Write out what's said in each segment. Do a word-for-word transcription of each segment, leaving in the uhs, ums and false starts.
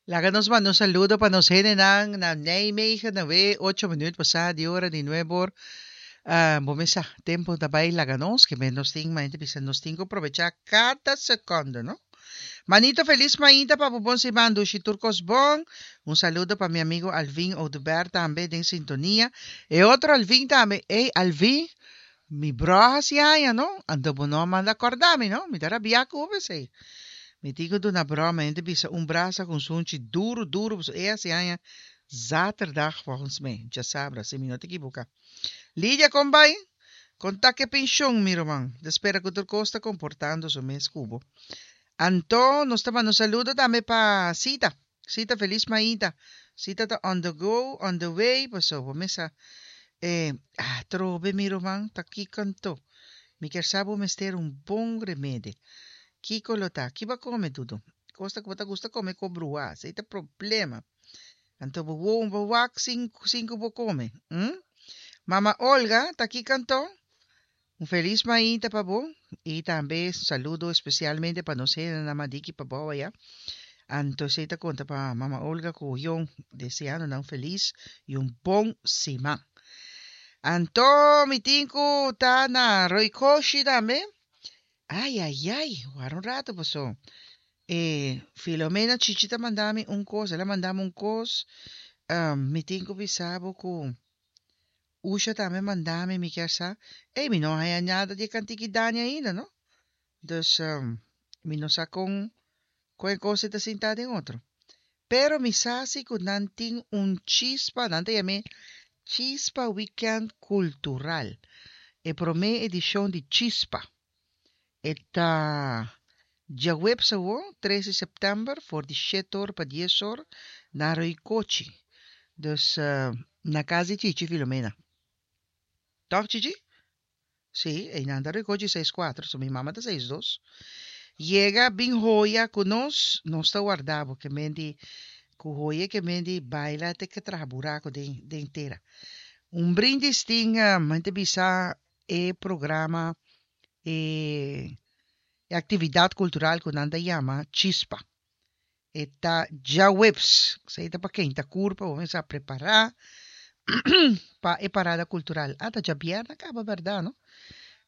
Laga nos manda un saludo pa nos hendenan na Nijmegen, na we ocho minuut pasá di ora di nuebe or. Uh, bo mes sa, tempo ta bai laga nos, ke men nos tin, ma bisa nos tin ku probechá kada sekonde, no? Manito, felis mainta pa bon siman, dushi, tur kos bon. Un saludo pa mi amigu Alvin Oduber tambe den sintonia. E otro Alvin tambe. Ei, Alvin, mi bro hasi aña, no? Anto bo no manda kòrda mi, no? Mi ta rabia ku bo esei. Mi tin ku duna bro, mi bisa un brasa ku sunchi duru, duru. E hasi aña zaterdag volgens mij. Djasabra, si mi no ta ekivoká. Lidia, kon bai? Kon ta ku penshon, mi ruman. Spera ku tur kos ta komportando su mes ku bo. Anto, nos ta mandando un saludo tambe pa Sita. Sita, felis mainta. Sita ta on the go, on the way, paso, bo mes sa. Eh, ah, trobe, mi ruman, ta kiko anto? Mi ke sa bo mester un bon remedi. Kiko lo ta? Ki bo a kome tudo? Kos ku bo ta gusta kome ku brua, esei ta problema. Anto bo wo bo wak sin sin ku bo kome. Hm? Mama Olga, ta kiko anto? Un felis mainta pa bo i tambe saludo espesialmente pa nos na Madiki pa bo ya. Anto esei ta konta pa Mama Olga ku Jon deseando nan felis i un bon siman. Anto mi tin ku ta na Roikoshi tambe. Ai, ai, ai, warda un ratu, paso. Eh, Filomena Chichi ta manda mi un kos, el a manda mi un kos. Um, mi tin ku bisa bo ku Usha tambe manda mi, mi ke sa. Ei, mi no a nada di kantika Dani ainda, no? Dus um, mi no sa kon kon kos ta sintá den otro. Pero mi sa si ku nan tin un Chispa, nan ta yam'é Chispa Weekend Kultural. E promé edishon di Chispa. E ta djaweps awor, tres di sèptèmber, for di shete or pa dies or, na Roikochi. Dus uh, na kas di Chichi Filomena. Toch, Chichi? Si, e nan ta Roikochi seis kuater, so mi mama ta seis dos. Yega bin hoya ku nos, nos ta warda bo, ke men di, ku hoya ke men di baila te ku traha buraku den, den tera. Un brindis tin, um, ta bisa e programa e, e aktividat kultural ku nan ta yama Chispa. E ta djaweps, esei ta pa ken ta kurpa, ban kuminsá prepará pa e parada kultural. Ah, ta djabièrnè kaba, bèrdat, no?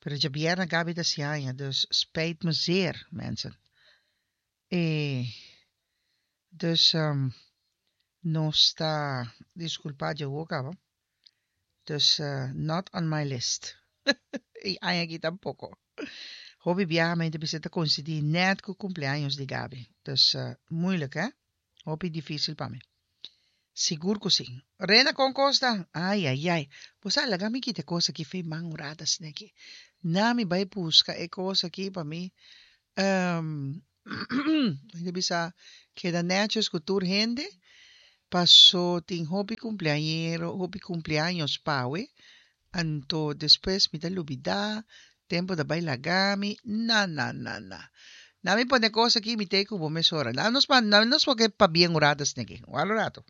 Pero djabièrnè Gabi ta hasi aña, dus spijt me zeer, mensen. E, dus um, nos ta diskulpá djawe kaba. Dus uh, not on my list. I aña aki tampoko. Hopi biaha mi bisa ta koinsidí net ku cumpleaños di Gabi. Dus uh, moeilijk, hè? Hopi difísil pa mi. Sigur ku si. Rena kon kos ta. Ai, ai, ai. Bo laga mi kita kos aki fo'i man un ratu aki. Na mi bai buska e kos aki pa mi. Um, bisa keda netjes ku tur hende. Paso tin hopi cumpleañero, hopi cumpleaños pawe. Anto despues mi ta lubidá, tempu ta bai laga mi. Na, na, na, na. Na mi pone kos aki, mi t'ei ku bo mesora. Na nos pa, na nos porque pa bien un ratu aki. Un ratu.